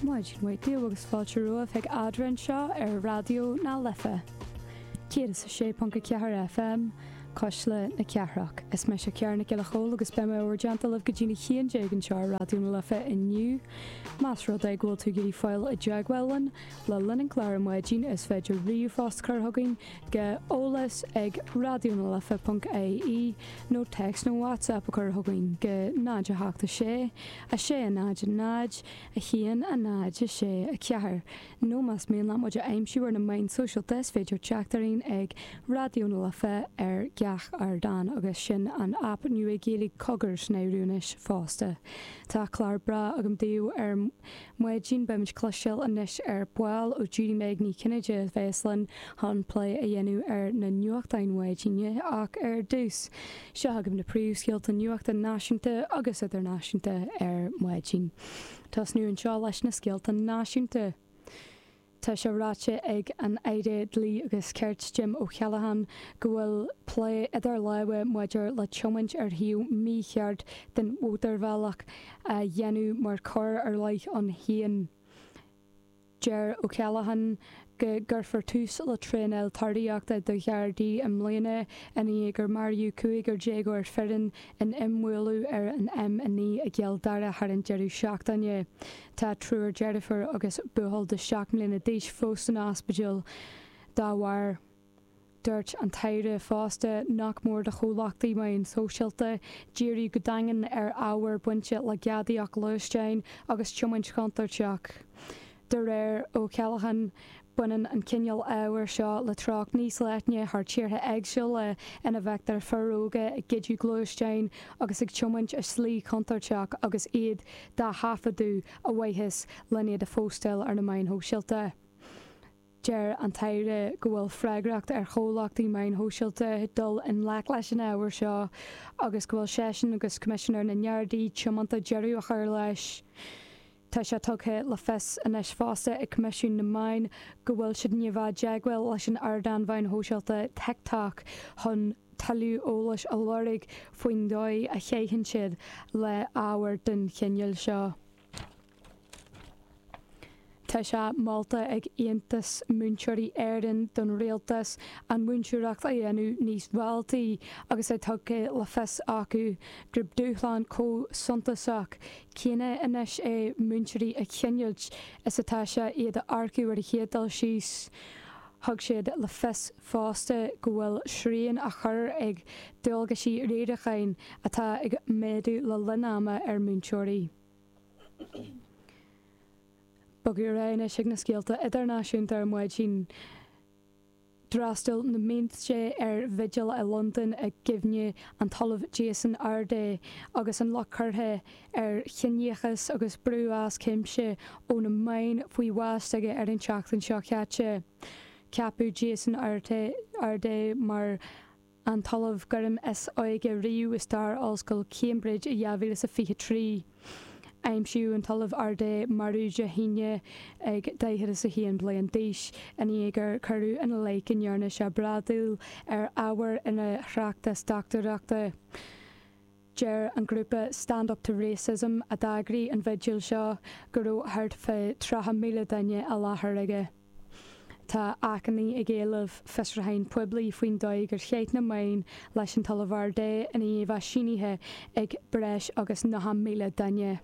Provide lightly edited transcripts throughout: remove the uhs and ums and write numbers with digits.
Maidin mhaith daoibh agus fáilte romhaibh chuig Eadrainn anseo ar Raidió na Life 106.4 FM, Cuisle na Cathrach. Is mise Ciara Nic Giolla Chóill agus beidh mé i bhur dteannta libh go dtí'n 11 anseo ar Raidió na Life inniu. Más rud é go bhfuil tú ag iarraidh fáil i dteagmháil linn le linn an chláir ar maidin is féidir ríomhphost a chur chugainn go eolas ag raidionalife.ie nó téacs nó WhatsApp a chur chugainn go 0 8 6 6 0 0 1 0 6 4 nó más mian leat muid a aimsiú ar na meáin sóisialta is féidir teacht orainn ag Raidió na Life ar gach ardán agus sin an aip nua Gaeilge Cogar san áireamh anois fosta. Tá clár breá agam daoibh ar maidin. Beimid ag cloisteáil anois ar ball ó Judy Meg Ní Chinnéide a bheas linn chun plé a dhéanamh ar na nuachtáin mhaidine ach ar dtús, seo agaibh na príomhscéalta nuachta náisiúnta agus idirnáisiúnta ar maidin. Tosnú anseo leis na scéalta náisiúnta. Tá sé ráite ag an Aire Dlí agus Cirt Jim O'Callaghan go bhfuil plé idir lámha maidir le tiomáint ar thaobh mícheart den mhótarbhealach a dhéanamh mar choir ar leith ann féin. Deir O'Callaghan go gcuirfear tús le traenáil tarraíochta do Ghardaí i mbliana i ndiaidh gur maraíodh cúigear déagóir fireann in imbhualadh ar an M9 i gCill Dara thar an deireadh seachtaine. Tá triúr deirfiúr agus buachaill de 7 mbliana d'aois fós san ospidéal dá bharr. Dúirt an tAire fosta nach mór do chomhlachtaí meáin shóisialta díriú go daingean ar ábhar bainte le gadaíocht gluaisteáin agus tiomáint chontúirteach. De réir O'Callaghan, baineann an cineál ábhair seo le treocht níos leithne thar tíortha éagsúla ina bhfeictear fir óga ag goideadh gluaisteáin agus ag tiomáint i slí chontúirteach agus iad dá thaifeadadh ar mhaithe len iad a phóstáil ar na meáin shóisialta. Deir an tAire go bhfuil freagracht ar chomhlachtaí meáin shóisialta dul i ngleic leis an ábhar seo agus go bhfuil seisean agus Coimisinéir na nGardaí tiomanta deireadh a chur leis. Tá sé tugtha le fios anois fosta ag Coimisiún na Meán go bhfuil siad i ndiaidh a bheith i dteagmháil leis an ardán mheáin shóisialta TikTok chun tuilleadh eolais a lorg faoin dóigh a chaitheann siad le ábhar den chineál seo. Tá sé molta ag Aontas Múinteoirí Éireann don Rialtas an mhúinteoireacht a dhéanamh níos mealltaí agus é tugtha le fios acu gurb dúshlán chomh suntasach céanna anois é múinteoirí a choinneáilt is atá sé iad a earcú ar an chéad dul síos. Thug siad le fios fosta go bhfuil srian á chur ag dualgaisí riaracháin atá ag méadú le linn ama ar mhúinteoirí. Bogadh ar aghaidh anois ag na scéalta idirnáisiúnta ar maidin. D'fhreastail na mílte ar bhigil i Londain i gcuimhne an tOllamh Jason Arday agus an locht curtha ar chiníochas agus brú as cuimse ó na meáin faoi bhás s'aige ar an tseachtain seo caite. Ceapadh Jason Arday mar an tOllamh Gairme is óige riamh i stair Ollscoil Cambridge i 2023. Aimsíodh an tOllamh Arday marbh Dé hAoine ag 41 bliain d'aois, i ndiaidh gur cuireadh ina leith go ndearna sé bradaíl ar ábhar ina thráchtas dochtúireachta. Deir an grúpa Stand Up To Racism, a d'eagraigh an bhigil seo, go raibh thart fá 30,000 duine i láthair aige. Tá achainí ag éileamh fiosrúcháin poiblí faoin dóigh gur chaith na meáin leis an tOllamh Arday i ndiaidh a bheith sínithe ag breis agus 90,000 duine.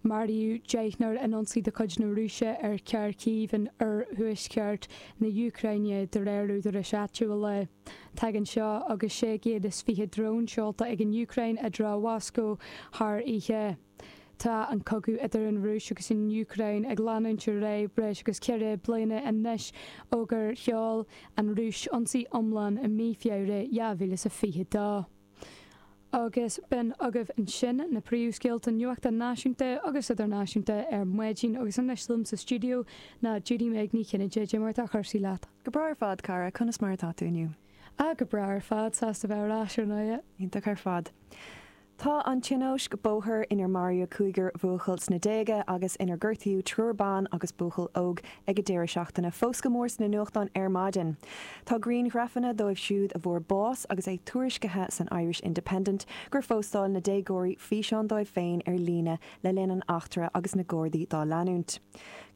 Maraíodh deichniúr in ionsaí de chuid na Rúise ar Kharkiv in oirthuaisceart na hÚcráine, de réir údaráis áitiúla. Tagann seo agus 620 drón seolta ag an Úcráin i dtreo Mhoscó thar oíche. Tá an cogadh idir an Rúis agus an Úcráin ag leanúint ar aghaidh breis agus ceithre bliana anois ó gur sheol an Rúis ionsaí iomlán i mí Feabhra 2022. Agus b'in agaibh ansin na príomhscéalta nuachta náisiúnta agus idirnáisiúnta ar maidin agus anois liom sa stiúideo ná Judy Meg Ní Chinnéide. Cad é mar atá cúrsaí leat? Go breá ar fad, cara. Conas mar atá tú inniu? Ah, go breá ar fad. Sásta bheith ar ais ar ndóighe. Iontach ar fad. Tá an tionóisc bóthair inar maraíodh cúigear buachaill sna déaga agus inar gortaíodh triúr ban agus buachaill óg ag an deireadh seachtaine fós go mór sna nuachtáin ar maidin. Tá grianghrafanna dóibh siúd a bhfuair bás agus é tuairiscithe san Irish Independent gur phóstáil na déagóirí físeán dóibh féin ar líne le linn an eachtra agus na Gardaí dá leanúint.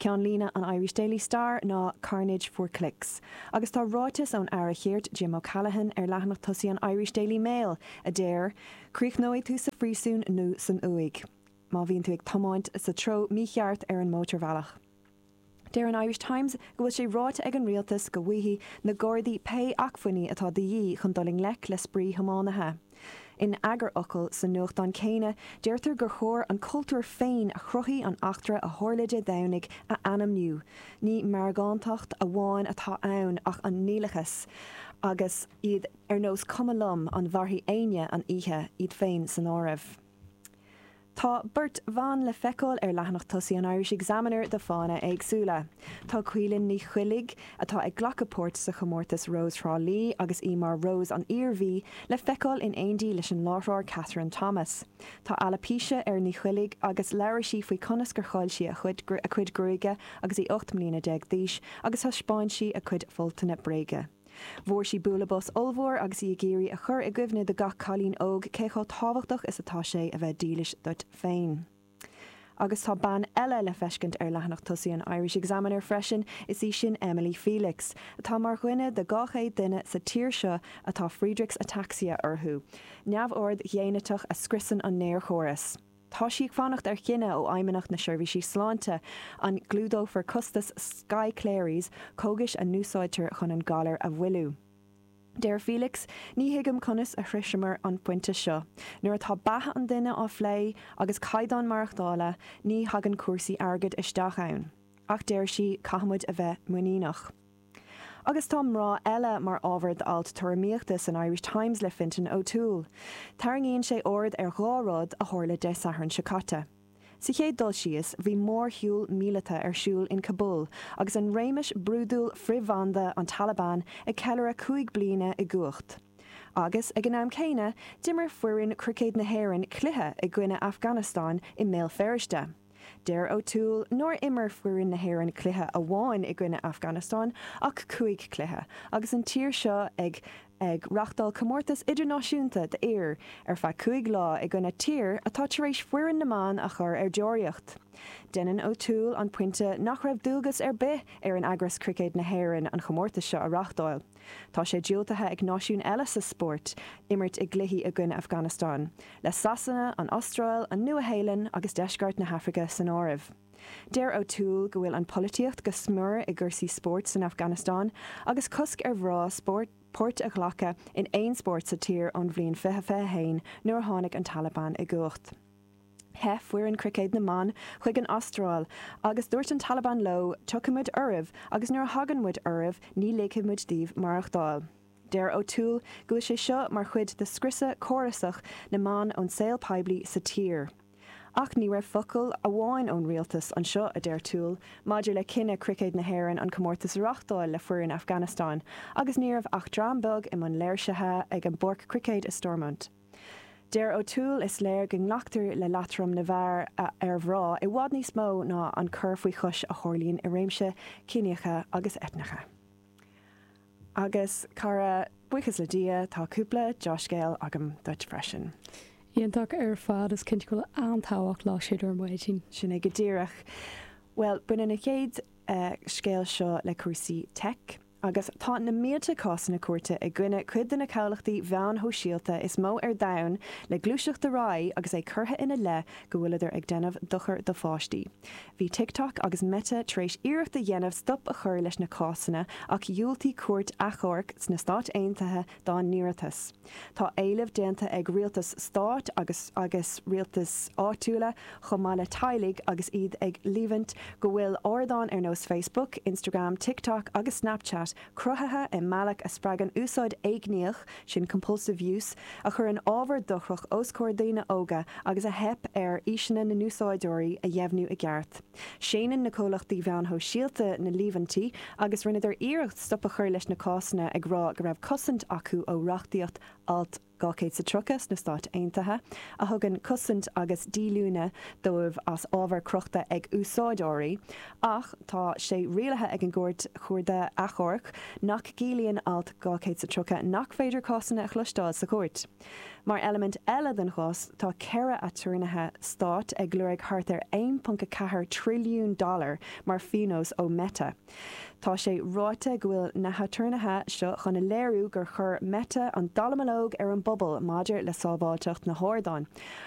Ceannlíne an Irish Daily Star ná 'Carnage for Clicks'. Agus tá ráiteas ón Aire Cirt, Jim O'Callaghan, ar leathanach tosaigh an Irish Daily Mail a deir, Críochnóidh tú sa phríosún nó san uaigh má bhíonn tú ag tiomáint sa treo mícheart ar an mótarbhealach. Deir an Irish Times go bhfuil sé ráite ag an rialtas go bhfaighidh na Gardaí pé acmhainní atá de dhíth chun dul i ngleic le spraoi-thiománaithe. In eagarfhocal sa nuachtán céanna, deirtear gur chóir an cultúr féin a chruthaigh an eachtra a tharla Dé Domhnaigh a ainmniú. Ní meargántacht amháin atá ann ach an nialachas agus iad ar nós cuma liom an mhairfidh éinne an oíche, iad féin san áireamh. Tá beirt bhan le feiceáil ar leathanach tosaigh an Irish Examiner do fáthanna éagsúla. Tá Caoilinn Ní Choiligh, atá ag glacadh páirt sa chomórtas Rós Thrá Lí agus í mar Rós an Iarmhí, le feiceáil in éindí leis an láithreoir Kathryn Thomas. Tá alaipíse ar Ní Choiligh agus labhair sí faoi conas gur chaill sí a cuid gruaige agus í 18 mbliana d'aois agus thaispeáin sí a cuid foltanna bréige. Fuair sí bualadh bos ollmhór agus í ag iarraidh a chur i gcuimhne do gach cailín óg cé chomh tábhachtach is atá sé a bheith dílis duit féin. Agus tá bean eile le feiscint ar leathanach tosaigh an Irish Examiner freisin, is í sin Emily Felix, atá mar dhuine de 200 duine sa tír seo atá Friedreich's Ataxia orthu, neamhord ghéiniteach a scriosann an néarchóras. Tá sí ag fanacht ar chinneadh ó Fheidhmeannacht na Seirbhísí Sláinte an gclúdófar costas Skyclarys, cógais a n-úsáidtear chun an galar a mhoilliú. Deir Felix, Ní thuigim conas a shroiseamar an pointe seo. Nuair atá beatha an duine á phlé, agus caighdeán maireachtála, ní thagann cúrsaí airgid isteach ann. Ach deir sí, caithfimid a bheith muiníneach. Agus tá mná eile mar ábhar d'alt tuairimíochta san Irish Times le Fintan O'Toole. Tarraingíonn sé aird ar dhá rud a tharla Dé Sathairn seo caite. Sa chéad dul síos, bhí mórshiúl míleata ar siúl in Kabul agus an réimeas brúidiúil frithbhanda an Taliban ag ceiliúradh 5 bliana i gcumhacht. Agus, ag an am céanna, d'imir foireann cruicéid na hÉireann cluiche i gcoinne Afganastáin i mBéal Feirste. Deir O'Toole nár imir foireann na hÉireann cluiche amháin i gcoinne Afganastáin ach 5 chluiche, agus an tír seo ag ag reachtáil comórtas idirnáisiúnta d'fhir ar feadh 5 lá i gcoinne tír atá tar éis foireann na mban a chur ar deoraíocht. Déanann O'Toole an pointe nach raibh dualgas ar bith ar an eagras Cruicéad na hÉireann an chomórtas seo a reachtáil. Tá sé diúltaithe ag náisiúin eile sa spórt imirt i gcluichí i gcoinne Afghanistan, le Sasana, an Astráil, an Nua-Shéalainn agus Deisceart na hAfraice san áireamh. Deir O'Toole go bhfuil an pholaitíocht go smior i gcúrsaí spóirt san Afganastáin agus cosc ar mhná páirt a ghlacadh in aon spórt sa tír ón bhliain 2021 nuair a tháinig an Taliban i gcumhacht. Theith foireann cruicéid na mban chuig an Astráil agus dúirt an Taliban leo 'tiocfaidh muid oraibh agus nuair a thagann muid oraibh ní ligfidh muid daoibh maireachtáil'. Deir O'Toole go bhfuil sé seo mar chuid de scriosadh córasach na mban ón saol poiblí sa tír. Ach ní raibh focal amháin ón rialtas anseo, a deir Toole, maidir le cinneadh Cruicéad na hÉireann an comórtas a reachtáil le foireann Afghanistan agus ní raibh ach dream beag i mbun léirsithe ag an bpáirc cruicéid i Stormont. Deir O'Toole, Is léir go nglactar le leatrom na bhfear ar mhná i bhfad níos mó ná an cur faoi chois a tharlaíonn i réimse ciníocha agus eitneacha. Agus, cara, buíochas le Dia, tá cúpla deá-scéal agam duit freisin. Iontach ar fad, is cinnte go bhfuil an-tábhacht leo siúd ar maidin. Sin é go díreach. Bhuel, baineann an chéad scéal seo le cúrsaí teic. Agus tá na mílte cásanna cúirte i gcoinne cuid de na comhlachtaí mheáin shóisialta is mó ar domhan le gluaiseacht ar aghaidh agus é curtha ina leith go bhfuileadar ag déanamh dochar do pháistí. Bhí TikTok agus Meta tar éis iarracht a dhéanamh stop a chur leis na cásanna ach dhiúltaigh cúirt achomhairc sna Stáit Aontaithe dá n-iarratas. Tá éilimh déanta ag rialtais stáit agus agus rialtais áitiúla chomh maith le teaghlaigh agus iad ag líomhaint go bhfuil ardáin ar nós Facebook, Instagram, TikTok agus Snapchat cruthaithe i mbealach a spreagann úsáid éigníoch, sin compulsive use, a chuireann ábhar dochrach os comhair daoine óga agus a theip ar aoiseanna na n-úsáideoirí a dheimhniú i gceart. Séanann na comhlachtaí mheáin shóisialta na líomhaintí agus rinneadar iarracht stop a chur leis na cásanna ag rá go raibh cosaint acu ó reachtaíocht Alt 230 sna Stáit Aontaithe, a thugann cosaint agus díolúine dóibh as ábhar crochta ag úsáideoirí, ach tá sé rialaithe ag an gCúirt Chuarda Achomhairc nach gciallaíonn Alt 230 nach féidir cásanna a chloisteáil sa chúirt. Mar eilimint eile den chás, tá 4 aturnaetha stáit ag lorg thart ar 1.4 trilliún dollar mar phionós ó Meta. Tá sé ráite go bhfuil na haturnaetha seo chun a léiriú gur chuir Meta an dallamullóg ar an bpobal maidir le sábháilteacht na hardáin.